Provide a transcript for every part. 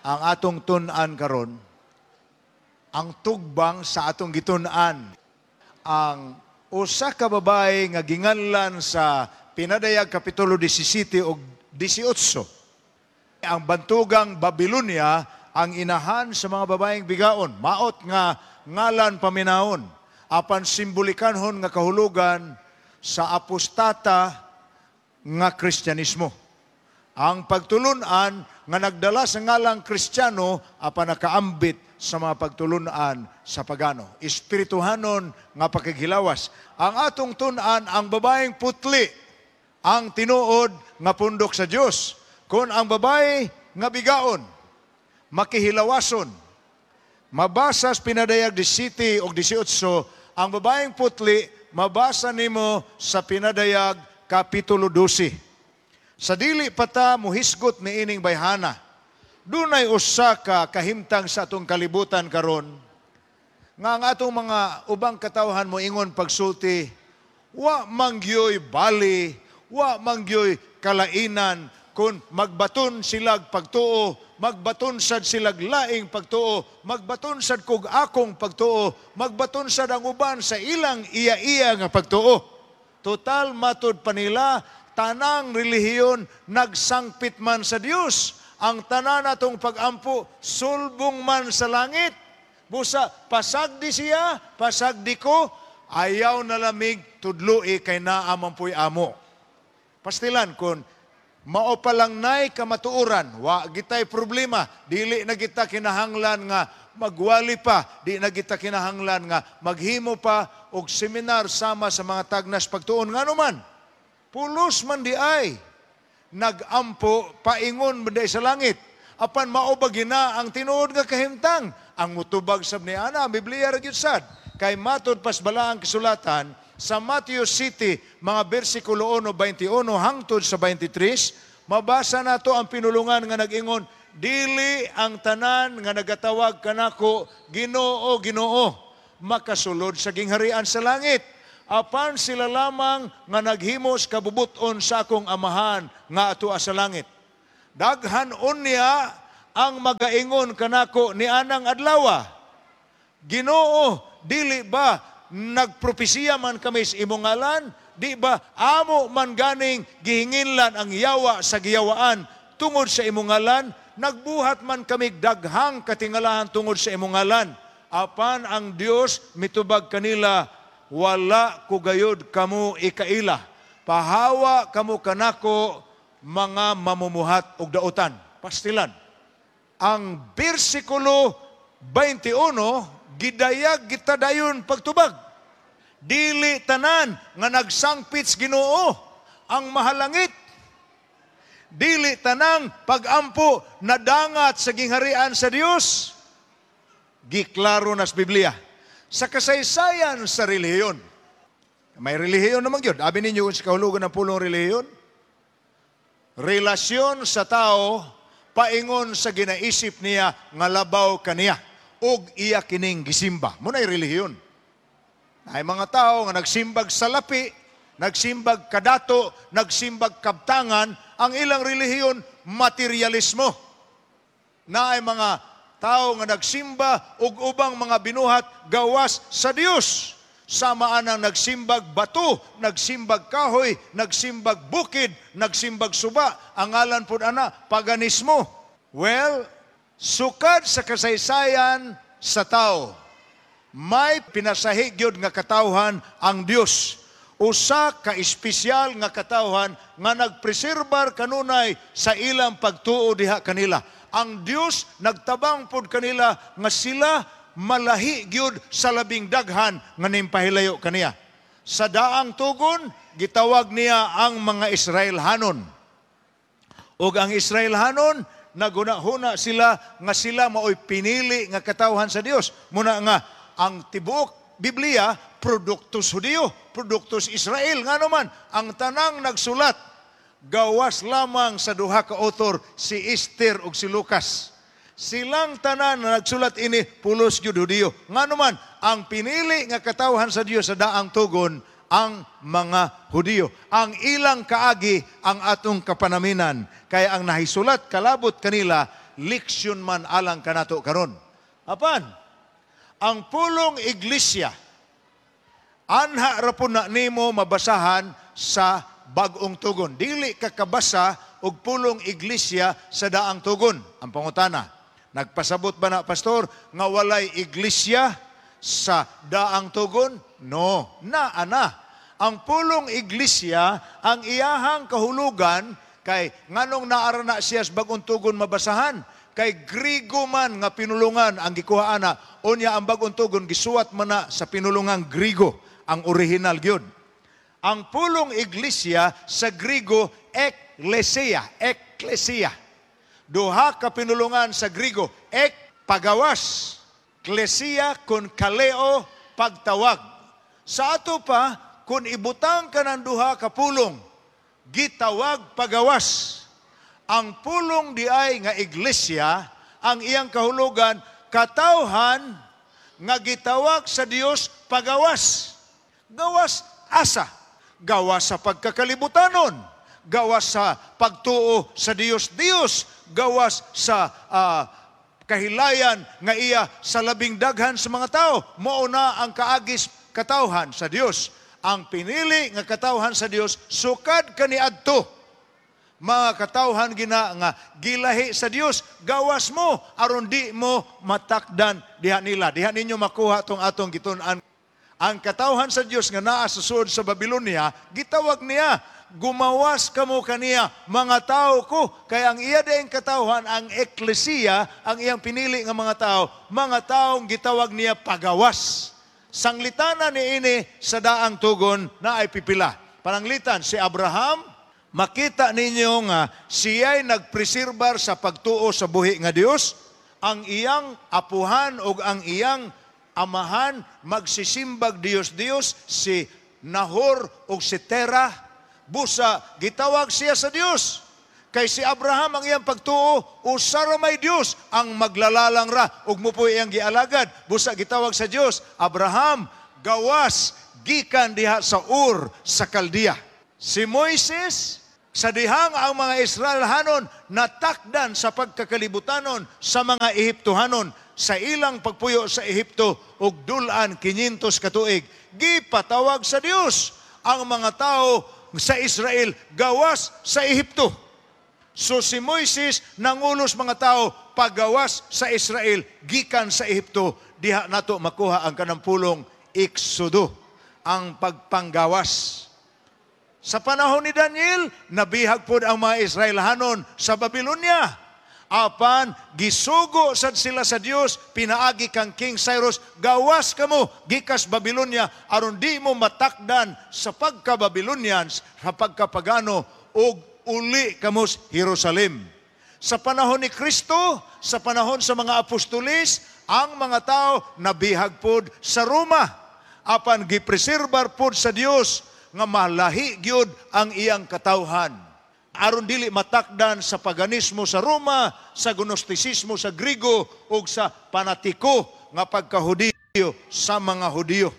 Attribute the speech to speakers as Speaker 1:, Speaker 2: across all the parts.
Speaker 1: Ang atong tun-an karon, ang tugbang sa atong gitun-an, ang usa ka babae nga ginganlan sa Pinadayag kapitulo 17 ug 18. Ang bantugang Babylonia ang inahan sa mga babaeng bigaon, maot nga ngalan paminawon, apan simbolikanhon nga kahulugan sa apostata nga Kristyanismo. Ang pagtulunan nga nagdala sa ngalang Kristiyano apan nakaambit sa mga pagtulunan sa pagano. Espirituhanon nga pakighilawas. Ang atong tun-an, ang babaeng putli, ang tinuod nga pundok sa Dios. Kung ang babae nga bigaon, makihilawason, mabasa sa Pinadayag 17 og 18, ang babaeng putli, mabasa nimo sa Pinadayag Kapitulo 12. Sa dili pa ta muhisgot niining bayhana, dunay usa ka kahimtang sa atong kalibutan karon nga ang atong mga ubang katawhan moingon pagsulti, wa manggyoy bali, wa manggyoy kalainan kung magbaton silag pagtuo, magbaton sad silag laing pagtuo, magbaton sad kog akong pagtuo, magbaton sad ang uban sa ilang iya-iya nga pagtuo. Total, matud pa nila, tanang relihiyon nagsangpit man sa Dios. Ang tanan natong pagampo sulbong man sa langit. Busa pasagdi siya, pasagdi ko, ayaw na lamig tudloi kay naa man po'y amo. Pastilan kung mao pa lang nay kamatuoran, wa gitay problema, dili na kita kinahanglan nga magwali pa, di na kita kinahanglan nga maghimo pa og seminar sama sa mga tagnas pagtuon. Ngano man, pulos man di ay nagampo paingon man di sa langit. Apan mao ba gina ang tinuod nga kahimtang? Ang mutubag sab ni ana, ang Biblia ra gyud sad. Kay matod pas balaang kasulatan sa Matthew City, mga bersikulo 1, 21 hangtod sa 23, mabasa nato ang pinulungan nga nag-ingon, "Dili ang tanan nga nagatawag kanako, 'Ginoo, Ginoo,' makasulod sa gingharian sa langit. Apan sila lamang nga naghimos kabubuton sa akong Amahan nga atua sa langit. Daghan unya ang magaingon kanako ni anang adlawa, 'Ginoo, dili ba nagpropesiya man kami sa imong ngalan? Di ba amo man ganing gihinginlan ang yawa sa giyawaan tungod sa imong ngalan? Nagbuhat man kami daghang katingalahan tungod sa imong ngalan.' Apan ang Dios mitubag kanila, 'Wala ko gayud kamo ikaila. Pahawa kamo kanako, mga mamumuhat og dautan.'" Pastilan. Ang bersikulo 21, gidayag kita dayon pagtubag. Dili tanan nga nagsangpit sa Ginoo ang mahalangit. Dili tanang pagampo nadangat sa gingharian sa Dios. Giklaro nas Biblia. Sa kasaysayan sa relihiyon. May relihiyon naman yun. Abi ninyo kung sa kahulugan ng pulong relihiyon. Relasyon sa tao paingon sa ginaisip niya nga labaw kaniya ug iya kining gisimba. Muna'y relihiyon. Ay mga tao nga nagsimbag sa lapi, nagsimbag kadato, nagsimbag kabtangan, ang ilang relihiyon materialismo. Na ay mga tao nga nagsimba ug ubang mga binuhat gawas sa Dios. Sama anang nagsimbag bato, nagsimbag kahoy, nagsimbag bukid, nagsimbag suba. Ang ngalan pod ana, paganismo. Well, sukad sa kasaysayan sa tao, may pinasahi gyud nga katawhan ang Dios. Usa ka espesyal nga katawhan nga nagpreserbar kanunay sa ilang pagtuo diha kanila. Ang Dios nagtabang pod kanila nga sila malahi gyud sa labing daghan nga nimpahilayo kaniya. Sa daang tugon, gitawag niya ang mga Israelhanon. Ug ang Israelhanon, nagunahuna sila nga sila maoy pinili nga katawhan sa Dios. Muna nga ang tibuok Biblia produktos Hudiyo, produktos Israel. Nga naman, ang tanang nagsulat gawas lamang sa duha ka author, si Esther ug si Lucas. Silang tanan na nagsulat ini pulos gyud Hudiyo. Nga naman, ang pinili nga katawhan sa Dios sa daang tugon ang mga Hudiyo. Ang ilang kaagi ang atong kapanaminan. Kaya ang nahisulat kalabot kanila Leksyon man alang kanato karon. Apan, ang pulong iglesia, anha ra po na nimo mabasahan sa Bag-ong Tugon. Dili ka kabasa og pulong iglesia sa Daang Tugon. Ang pangutana, nagpasabot ba na, Pastor, nga walay iglesia sa Daang Tugon? No, naa na. Ang pulong iglesia, ang iyahang kahulugan, kay nganong naa ra na siya sa Bag-ong Tugon mabasahan? Kay Grigo man nga pinulungan ang gikuha ana, unya ang Bag-ong Tugon gisuwat man na sa pinulungang Grigo, ang original gyud. Ang pulong iglesia sa Grigo, ekklesia, ekklesia. Duha ka pinulungan sa Grigo, ek, pagawas, klesia kun kaleo, pagtawag. Sa ato pa, kung ibutang ka ng duha ka pulong, gitawag pagawas. Ang pulong di ay nga iglesia, ang iyang kahulugan, katawhan nga gitawag sa Dios pagawas. Gawas asa? Gawas sa pagkakalibutanon. Gawas sa pagtuo sa Dios Dios. Gawas sa kahilayan nga iya sa labing daghan sa mga tao. Mao na ang kaagis katawhan sa Dios. Ang pinili nga katawhan sa Dios sukad kaniadto. Mga katawhan gina nga gilahi sa Dios, gawas mo aron di mo matakdan diha nila. Diha ninyo makuha tong atong gitun-an. Ang katawhan sa Dios nga naa sa sulod sa Babylonia, gitawag niya, "Gumawas kamo kaniya, mga tao ko." Kay ang iya dayong katawhan, ang eklesiya, ang iyang pinili nga mga tao, mga taong gitawag niya pagawas. Sanglitana ni ini sa Daang Tugon na ay pipila. Pananglitan, si Abraham, makita ninyo nga siya'y nagpreserbar sa pagtuo sa buhi nga Dios, ang iyang apuhan o ang iyang amahan magsisimbag Dios Dios, si Nahor o si Terah, busa gitawag siya sa Dios. Kay si Abraham, ang iyang pagtuo, usa ra may Dios ang maglalalang ra ug mo po iyang gialagad. Busa gitawag sa Dios, "Abraham, gawas gikan diha sa Ur sa Kaldea." Si Moises, sa dihang ang mga Israelhanon natakdan sa pagkakalibutanon sa mga Ehiptohanon sa ilang pagpuyo sa Ehipto ug dulan 500 ka tuig, gipatawag sa Dios ang mga tao sa Israel gawas sa Ehipto. So si Moises nangulos mga tao pagawas sa Israel gikan sa Ehipto. Diha nato makuha ang kanang pulong Exodo, ang pagpanggawas. Sa panahon ni Daniel, nabihag pod ang mga Israelhanon sa Babylonia. Apan gisugo sad sila sa Dios pinaagi kang King Cyrus, "Gawas kamo gikas Babylonia aron di mo matakdan sa pagka-Babylonians, sa pagkapagano, ug uli kamo sa Jerusalem." Sa panahon ni Kristo, sa panahon sa mga apostolis, ang mga tao nabihag pod sa Roma. Apan gipreserbar pod sa Dios nga malahi gyud ang iyang katawhan, aron dili matakdan sa paganismo sa Roma, sa gnostisismo sa Grigo ug sa panatiko nga pagkahudiyo sa mga Hudiyo.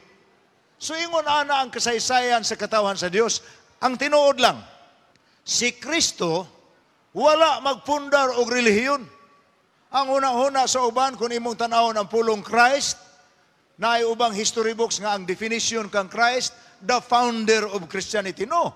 Speaker 1: So ingon ana ang kasaysayan sa katawhan sa Dios. Ang tinuod lang, si Kristo wala magpundar og relihiyon. Ang una-una sa uban, kung imong tan-awon ang pulong Christ, naay ubang history books nga ang definition kang Christ, the founder of Christianity. No.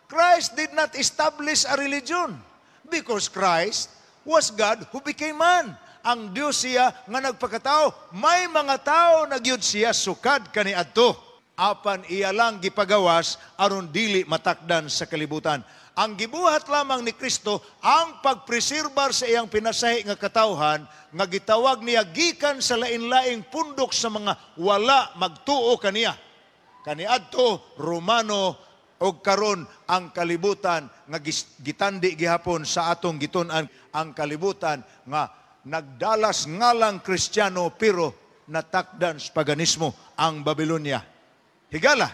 Speaker 1: Christ did not establish a religion because Christ was God who became man. Ang Diyos siya nga nagpakatao. May mga tao na gyud siya sukad kaniadto. Apan iya lang gipagawas aron dili matakdan sa kalibutan. Ang gibuhat lamang ni Kristo ang pagpreserbar sa iyang pinasahi nga katawhan nga gitawag niya gikan sa lain-laing pundok sa mga wala magtuo kaniya. Kaniadto Romano og karon ang kalibutan nga gitandi gihapon sa atong gitun-an, ang kalibutan nga nagdalas ngalang Kristiyano pero natakdan sa paganismo, ang Babylonia. Higala,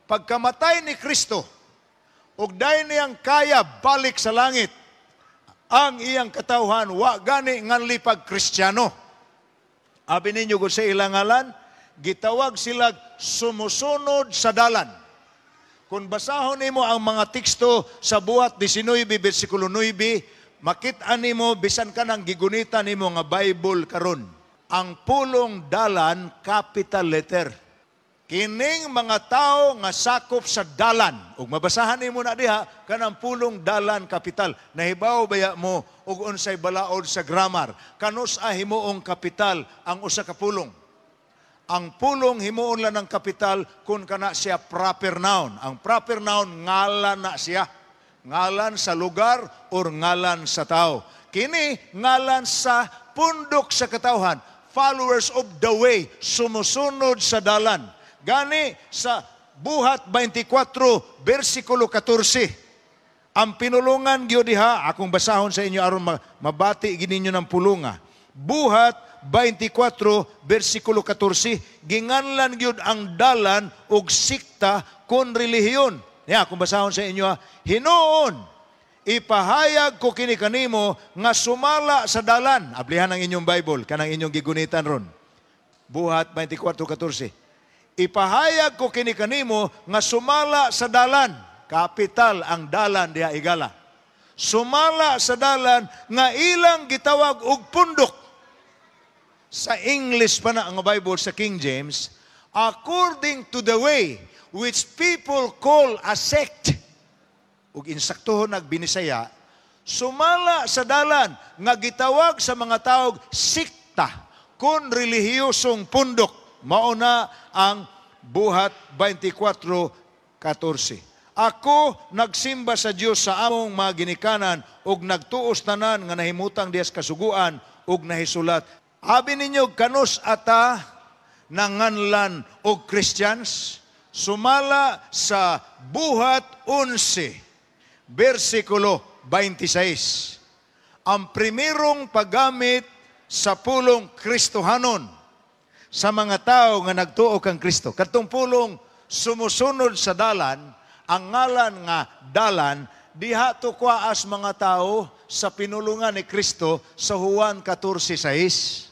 Speaker 1: pagkamatay ni Kristo ug dayon niyang kaya balik sa langit, ang iyang katawhan wa gani nganli pag Kristiyano. Abi ninyo kung sa ilang ngalan, gitawag sila sumusunod sa Dalan. Kung basahon nimo ang mga teksto sa Buhat 19, bersikulo 9, Makit-an nimo bisan kanang gigunitan nimo nga Bible karon. Ang pulong "dalan" capital letter. Kining mga tao nga sakop sa dalan, ug mabasahan nimo na diha kanang pulong "dalan" capital. Nahibaw baya mo og unsay balaod sa grammar? Kanus-a himuong kapital ang usa ka pulong? Ang pulong himuon lang ng kapital kung kana siya proper noun. Ang proper noun, ngalan na siya. Ngalan sa lugar or ngalan sa tao. Kini ngalan sa pundok sa katawhan. Followers of the way, sumusunod sa dalan. Gani sa Buhat 24, versikulo 14. Ang pinulungan gyud diha, akong basahon sa inyo aron mabati gyud ninyo ng pulunga. Buhat 24 versikulo 14, ginganlan gyud ang dalan og sikta kon relihiyon. Ya, akong basahon sa inyo ha. "Hinuon, ipahayag ko kini kanimo nga sumala sa dalan." Ablihan ang inyong Bible, kanang inyong gigunitan ron. Buhat 24:14. "Ipahayag ko kini kanimo nga sumala sa dalan." Kapital ang "dalan" diha, igala. "Sumala sa dalan nga ilang gitawag og pundok." Sa English pa na ang Bible, sa King James, "according to the way which people call a sect." Ug insaktuhon nagbinisaya, "sumala sa dalan nga gitawag sa mga tawog sikta kon relihiyosong pundok." Mao na ang Buhat 24:14. "Ako nagsimba sa Dios sa among mga ginikanan ug nagtuos tanan nga nahimutang diha sa kasuguan ug nahisulat." Abi ninyo, kanus ata nanganlan og Christians? Sumala sa Buhat 11, versikulo 26. Ang primerong paggamit sa pulong Kristohanon sa mga tao nga nagtuo kang Kristo. Katong pulong "sumusunod sa dalan", ang ngalan nga "dalan", diha to kwaas mga tao sa pinulungan ni Kristo sa Juan 14:6.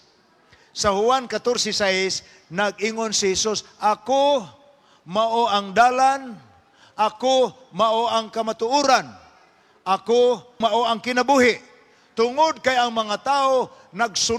Speaker 1: Sa Juan 14:6, nag-ingon si Jesus, "Ako mao ang dalan, ako mao ang kamatuoran, ako mao ang kinabuhi." Tungod kay ang mga tao nagsunod